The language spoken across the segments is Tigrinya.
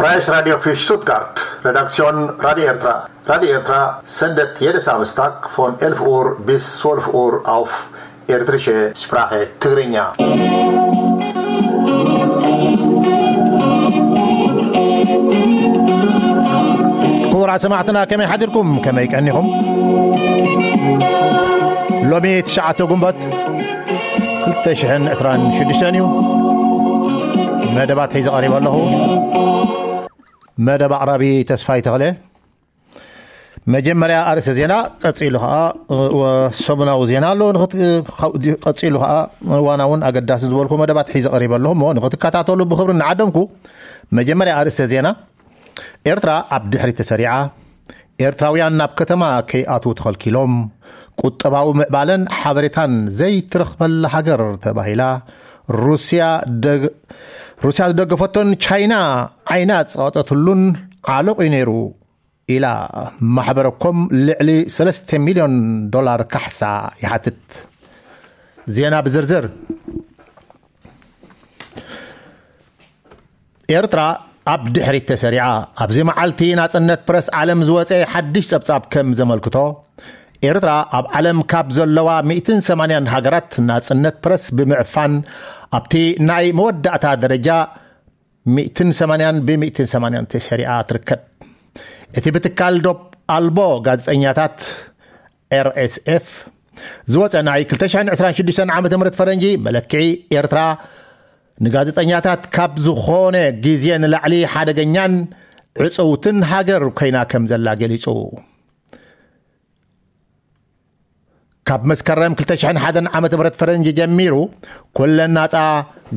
Freies Radio für Stuttgart. Redaktion Radio Ertra. Radio Ertra sendet jede Samstag von elf Uhr bis zwölf Uhr auf Ertrische Sprache Tigrinya. ክቡራት ሰማዕትና፣ ከመይ ሓዲርኩም? ከመይ ቀኒኹም? ሎሚ ትሽዓተ ጉንበት ክልተ ሽሕን ዕስራን ሽዱሽተን እዩ። መደባት ሒዘ ቀሪበ ኣለኹ። መደብ ኣቕራቢ ተስፋይ ተኽለ። መጀመርያ ኣርእስተ ዜና፣ ቀጺሉ ኸኣ፣ እ፣ ወ-፣ ሰሙናዊ ዜና ኣሎ። ንኽት-፣ እ፣ ቀጺሉ ኸኣ ዋናውን ኣገዳሲ ዝበልኩ መደባት ሒዘ ቀሪበ ኣለኹ እሞ ንኽትከታተሉ ብኽብሪ እናዓደምኩ፣ መጀመርያ ኣርእስተ ዜና፣ ኤርትራ ኣብ ድሕሪት ተሰሪዓ፣ ኤርትራውያን ናብ ከተማ ከይኣትዉ ተኸልኪሎም፣ ቁጠባዊ ምዕባለን ሓበሬታን ዘይትረኽበላ ሃገር ተባሂላ፣ ሩስያ ደግ-፣ ሩስያ ዝደገፈቶን ቻይና ዓይና ዝጸቐጠትሉን ዓሎቕ እዩ ነይሩ ኢላ፣ ማሕበረ ኮም ልዕሊ ሰለስተ ሚልዮን ዶላር ካሕሳ ይሓትት። ዜና ብዝርዝር። ኤርትራ ኣብ ድሕሪት ተሰሪዓ። ኣብዚ መዓልቲ ናጽነት ፕረስ ዓለም ዝወጸ ሓድሽ ጸብጻብ ከም ዘመልክቶ፣ ኤርትራ ኣብ ዓለም ካብ ዘለዋ ሚእትን ሰማንያን ሃገራት ናጽነት ፕረስ ብምዕፋን ኣብቲ ናይ መወዳእታ ደረጃ ሚእትን ሰማንያን ብሚእትን ሰማንያን ተሰሪዓ ትርከብ። እቲ ብትካል ዶብ ኣልቦ ጋዜጠኛታት፣ ኤር ኤስ ኤፍ፣ ዝወጸ ናይ ክልተ ሽሕን ዕስራን ሽዱሽተን ዓመተ ምህረት ፈረንጂ መለክዒ፣ ኤርትራ ንጋዜጠኛታት ካብ ዝኾነ ግዜ ንላዕሊ ሓደገኛን ዕጽውትን ሃገር ኮይና ከም ዘላ ገሊጹ። ካብ መስከረም ክልተ ሽሕን ሓደን ዓመተ ምህረት ፈረንጂ ጀሚሩ፣ ኩለን ናጻ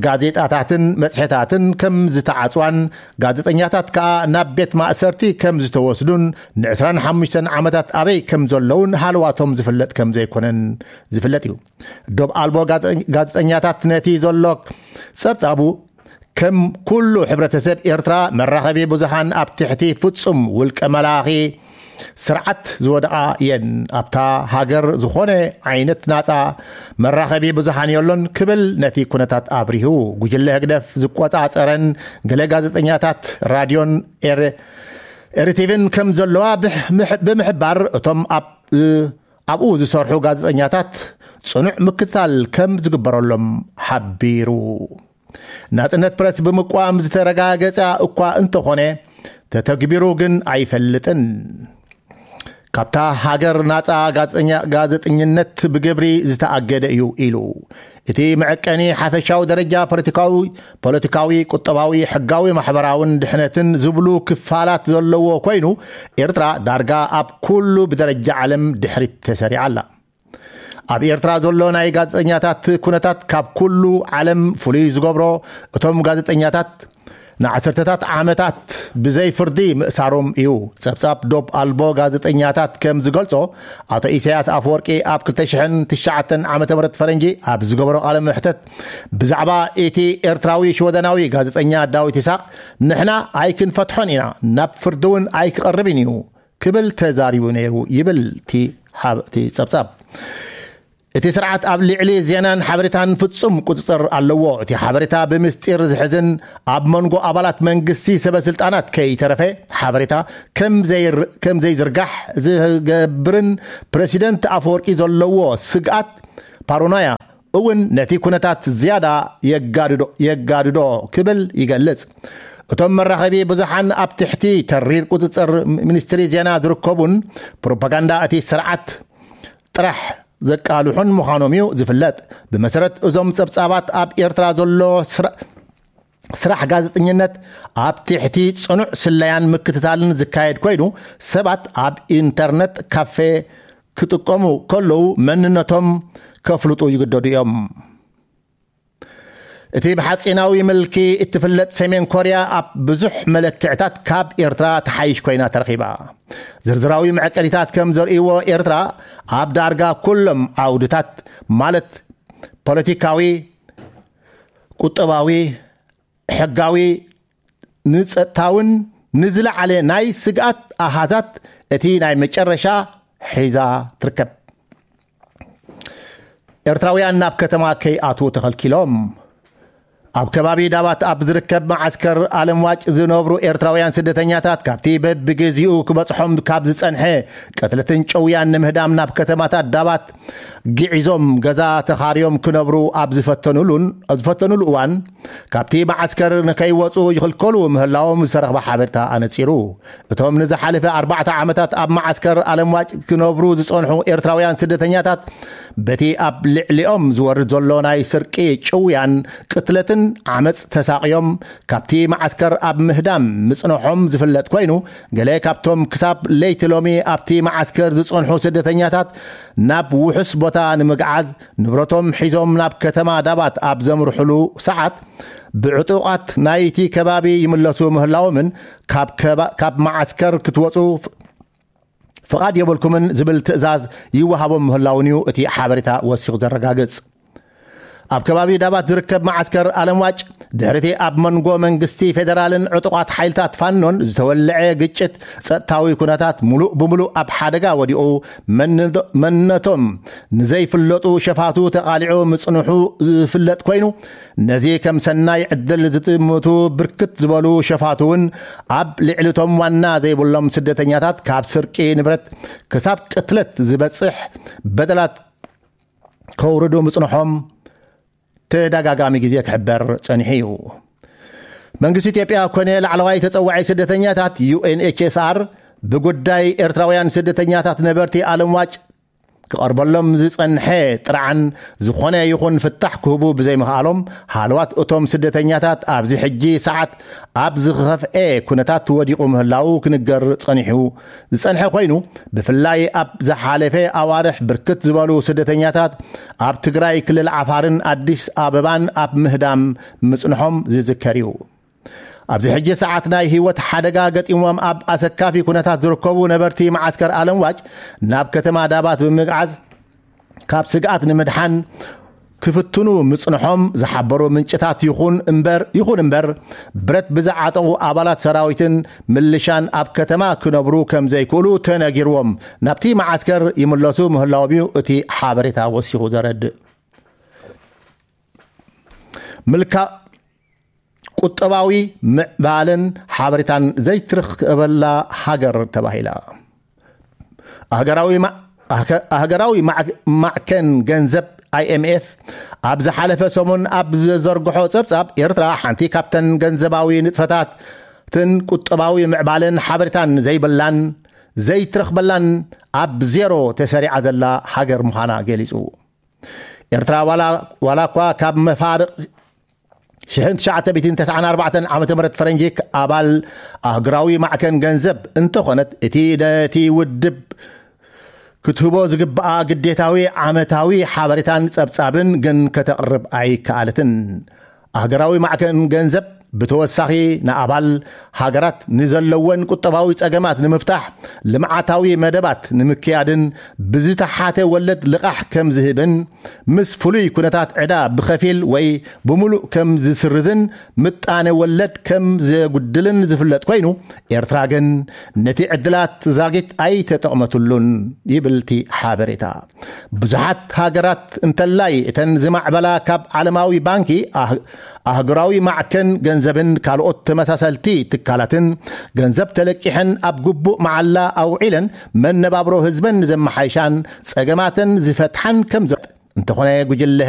ጋዜጣታትን መጽሔታትን ከም ዝተዓጽዋን፣ ጋዜጠኛታት ከኣ ናብ ቤት ማእሰርቲ ከም ዝተወስዱን፣ ንዕስራን ሓሙሽተን ዓመታት ኣበይ ከም ዘለዉን ሃለዋቶም ዝፍለጥ ከም ዘይኮነን ዝፍለጥ እዩ። ዶብ ኣልቦ ጋዘ-፣ ጋዜጠኛታት ነቲ ዘሎ ጸብጻቡ፣ ከም ኩሉ ሕብረተሰብ ኤርትራ፣ መራኸቢ ብዙሃን ኣብ ትሕቲ ፍጹም ውልቀ መላኺ ስርዓት ዝወደቓ እየን። ኣብታ ሃገር ዝኾነ ዓይነት ናጻ መራኸቢ ብዙሃን የሎን ክብል ነቲ ኩነታት ኣብሪሁ። ጉጅለ ህግደፍ ዝቆጻጸረን ገለ ጋዜጠኛታት ራድዮን ኤር-፣ ኤሪቲቪን ከም ዘለዋ ብሕ-፣ ምሕ-፣ ብምሕባር፣ እቶም ኣብ-፣ ኣብኡ ዝሰርሑ ጋዜጠኛታት ጽኑዕ ምክትታል ከም ዝግበረሎም ሓቢሩ። ናጽነት ፕረስ ብምቋም ዝተረጋገጸ እኳ እንተኾነ፣ ተተግቢሩ ግን ኣይፈልጥን። ካብታ ሃገር ናጻ ጋዜጠኛ-፣ ጋዜጠኝነት ብግብሪ ዝተኣገደ እዩ ኢሉ። እቲ መዐቀኒ ሓፈሻዊ ደረጃ ፖለቲካዊ፣ ፖለቲካዊ፣ ቁጠባዊ፣ ሕጋዊ፣ ማሕበራውን ድሕነትን ዝብሉ ክፋላት ዘለዎ ኮይኑ፣ ኤርትራ ዳርጋ ኣብ ኩሉ ብደረጃ ዓለም ድሕሪት ተሰሪዓ ኣላ። ኣብ ኤርትራ ዘሎ ናይ ጋዜጠኛታት ኩነታት ካብ ኩሉ ዓለም ፍሉይ ዝገብሮ፣ እቶም ጋዜጠኛታት ንዓሰርተታት ዓመታት ብዘይ ፍርዲ ምእሳሮም እዩ። ጸብጻብ ዶብ ኣልቦ ጋዜጠኛታት ከም ዝገልጾ፣ ኣቶ ኢሳያስ ኣፈወርቂ ኣብ ክልተ ሽሕን ትሽዓተን ዓመተ ምህረት ፈረንጂ ኣብ ዝገበሮ ቃለ መሕተት፣ ብዛዕባ እቲ ኤርትራዊ ሽወደናዊ ጋዜጠኛ ዳዊት ይስሐቅ፣ "ንሕና ኣይክንፈትሖን ኢና፣ ናብ ፍርዲ እውን ኣይክቐርብን እዩ" ክብል ተዛሪቡ ነይሩ ይብል እቲ ሓብ-፣ እቲ ጸብጻብ። እቲ ስርዓት ኣብ ልዕሊ ዜናን ሓበሬታን ፍጹም ቁጽጽር ኣለዎ። እቲ ሓበሬታ ብምስጢር ዝሕዝን ኣብ መንጎ ኣባላት መንግስቲ ሰበ ስልጣናት ከይተረፈ ሓበሬታ ከም ዘይር-፣ ከም ዘይዝርጋሕ ዝገብርን ፕረሲደንት ኣፈወርቂ ዘለዎ ስግኣት፣ ፓሮናያ፣ እውን ነቲ ኩነታት ዝያዳ የጋድዶ፣ የጋድዶ ክብል ይገልጽ። እቶም መራኸቢ ብዙሓን ኣብ ትሕቲ ተሪር ቁጽጽር ሚኒስትሪ ዜና ዝርከቡን ፕሮፓጋንዳ እቲ ስርዓት ጥራሕ ዘቃልሑን ምዃኖም እዩ ዝፍለጥ። ብመሰረት እዞም ጸብጻባት፣ ኣብ ኤርትራ ዘሎ ስራ-፣ ስራሕ ጋዜጠኝነት ኣብ ትሕቲ ጽኑዕ ስለያን ምክትታልን ዝካየድ ኮይኑ፣ ሰባት ኣብ ኢንተርነት ካፌ ክጥቀሙ ከለዉ መንነቶም ከፍልጡ ይግደዱ እዮም። እቲ ብሓጺናዊ ምልኪ እትፍለጥ ሰሜን ኮርያ ኣብ ብዙሕ መለክዕታት ካብ ኤርትራ ትሓይሽ ኮይና ተረኺባ። ዝርዝራዊ መዐቀኒታት ከም ዘርእይዎ፣ ኤርትራ ኣብ ዳርጋ ኩሎም ዓውድታት፣ ማለት ፖለቲካዊ፣ ቁጠባዊ፣ ሕጋዊ፣ ንጸጥታውን ንዝለዓለ ናይ ስግኣት ኣሃዛት እቲ ናይ መጨረሻ ሒዛ ትርከብ። ኤርትራውያን ናብ ከተማ ከይኣትዉ ተኸልኪሎም። ኣብ ከባቢ ዳባት ኣብ ዝርከብ መዓስከር ኣለምዋጭ ዝነብሩ ኤርትራውያን ስደተኛታት፣ ካብቲ በብግዜኡ ክበጽሖም ካብ ዝጸንሐ ቅትለትን ጭውያን ንምህዳም ናብ ከተማታት ዳባት ግዒዞም ገዛ ተኻርዮም ክነብሩ ኣብ ዝፈተኑሉን፣ ኣብ ዝፈተኑሉ እዋን፣ ካብቲ መዓስከር ንከይወጹ ይኽልከሉ ምህላዎም ዝተረኽበ ሓበሬታ ኣነጺሩ። እቶም ንዝሓለፈ ኣርባዕተ ዓመታት ኣብ መዓስከር ኣለምዋጭ ክነብሩ ዝጸንሑ ኤርትራውያን ስደተኛታት፣ በቲ ኣብ ልዕሊኦም ዝወርድ ዘሎ ናይ ስርቂ፣ ጭውያን ቅትለትን ዓመጽ ተሳቕዮም፣ ካብቲ መዓስከር ኣብ ምህዳም ምጽንሖም ዝፍለጥ ኮይኑ፣ ገለ ካብቶም ክሳብ ለይቲ ሎሚ ኣብቲ መዓስከር ዝጸንሑ ስደተኛታት ናብ ውሑስ ቦታ ንምግዓዝ ንብረቶም ሒዞም ናብ ከተማ ዳባት ኣብ ዘምርሑሉ ሰዓት፣ ብዕጡቓት ናይቲ ከባቢ ይምለሱ ምህላዎምን ካብ ከባ-፣ ካብ መዓስከር ክትወጹ ፍ-፣ ፍቓድ የብልኩምን ዝብል ትእዛዝ ይወሃቦም ምህላውን እዩ እቲ ሓበሬታ ወሲኹ ዘረጋግጽ። ኣብ ከባቢ ዳባት ዝርከብ መዓስከር ኣለምዋጭ፣ ድሕሪቲ ኣብ መንጎ መንግስቲ ፌደራልን ዕጡቓት ሓይልታት ፋኖን ዝተወልዐ ግጭት፣ ጸጥታዊ ኩነታት ሙሉእ ብሙሉእ ኣብ ሓደጋ ወዲቑ፣ መን-፣ መንነቶም ንዘይፍለጡ ሸፋቱ ተቓሊዑ ምጽንሑ ዝፍለጥ ኮይኑ፣ ነዚ ከም ሰናይ ዕድል ዝጥምቱ ብርክት ዝበሉ ሸፋቱ እውን ኣብ ልዕሊቶም ዋና ዘይብሎም ስደተኛታት ካብ ስርቂ ንብረት ክሳብ ቅትለት ዝበጽሕ በደላት ከውርዱ ምጽንሖም ተደጋጋሚ ግዜ ክሕበር ጸኒሑ እዩ። መንግስቲ ኢትዮጵያ ኮነ ላዕለዋይ ተጸዋዒ ስደተኛታት፣ ዩ ኤን ኤች ኤስ ኣር፣ ብጉዳይ ኤርትራውያን ስደተኛታት ነበርቲ ኣለምዋጭ ክቐርበሎም ዝጸንሐ ጥርዓን ዝኾነ ይኹን ፍታሕ ክህቡ ብዘይምኽኣሎም፣ ሃለዋት እቶም ስደተኛታት ኣብዚ ሕጂ ሰዓት ኣብ ዝኸፍኤ ኩነታት ወዲቑ ምህላው ክንገር ጸኒሑ ዝጸንሐ ኮይኑ፣ ብፍላይ ኣብ ዝሓለፈ ኣዋርሕ ብርክት ዝበሉ ስደተኛታት ኣብ ትግራይ ክልል ዓፋርን ኣዲስ ኣበባን ኣብ ምህዳም ምጽንሖም ዝዝከር እዩ። ኣብዚ ሕጂ ሰዓት ናይ ህይወት ሓደጋ ገጢሞም ኣብ ኣሰካፊ ኩነታት ዝርከቡ ነበርቲ መዓስከር ኣለምዋጭ ናብ ከተማ ዳባት ብምግዓዝ ካብ ስግኣት ንምድሓን ክፍትኑ ምጽንሖም ዝሓበሩ ምንጭታት ይኹን እምበር፣ ይኹን እምበር፣ ብረት ብዝዓጠቑ ኣባላት ሰራዊትን ምልሻን ኣብ ከተማ ክነብሩ ከም ዘይክእሉ ተነጊርዎም ናብቲ መዓስከር ይምለሱ ምህላዎም እዩ እቲ ሓበሬታ ወሲኹ ዘረድእ። ምልካ ቁጠባዊ ምዕባለን ሓበሬታን ዘይትረኽበላ ሃገር ተባሂላ። ኣህገራዊ ማ-፣ ኣህገ-፣ ኣህገራዊ ማዕ-፣ ማዕከን ገንዘብ፣ ኣይ ኤም ኤፍ፣ ኣብ ዝሓለፈ ሰሙን ኣብ ዘዘርግሖ ጸብጻብ፣ ኤርትራ ሓንቲ ካብተን ገንዘባዊ ንጥፈታትን ቁጠባዊ ምዕባለን ሓበሬታን ዘይብላን ዘይትረኽበላን ኣብ ዜሮ ተሰሪዓ ዘላ ሃገር ምዃና ገሊጹ። ኤርትራ ዋላ፣ ዋላ እኳ ካብ መፋርቕ ሽሕን ትሽዓተ ሚእትን ተስዓን ኣርባዕተን ዓመተ ምህረት ፈረንጂ ኣባል ኣህጉራዊ ማዕከን ገንዘብ እንተኾነት፣ እቲ ነቲ ውድብ ክትህቦ ዝግብኣ ግዴታዊ ዓመታዊ ሓበሬታን ጸብጻብን ግን ከተቕርብ ኣይከኣለትን። ኣህጉራዊ ማዕከን ገንዘብ ብተወሳኺ ንኣባል ሃገራት ንዘለወን ቁጠባዊ ጸገማት ንምፍታሕ፣ ልምዓታዊ መደባት ንምክያድን ብዝተሓተ ወለድ ልቓሕ ከም ዝህብን፣ ምስ ፍሉይ ኩነታት ዕዳ ብኸፊል ወይ ብምሉእ ከም ዝስርዝን ምጣነ ወለድ ከም ዘጉድልን ዝፍለጥ ኮይኑ፣ ኤርትራ ግን ነቲ ዕድላት ዛጊት ኣይተጠቕመትሉን ይብል እቲ ሓበሬታ። ብዙሓት ሃገራት እንተላይ እተን ዝማዕበላ ካብ ዓለማዊ ባንኪ፣ ኣህ-፣ ኣህጉራዊ ማዕከን ገንዘብን ካልኦት ተመሳሰልቲ ትካላትን ገንዘብ ተለቂሐን ኣብ ግቡእ መዓላ ኣውዒለን መነባብሮ ህዝበን ዘመሓይሻን ጸገማተን ዝፈትሓን ከም ዘ-፣ እንተኾነ ጉጅለ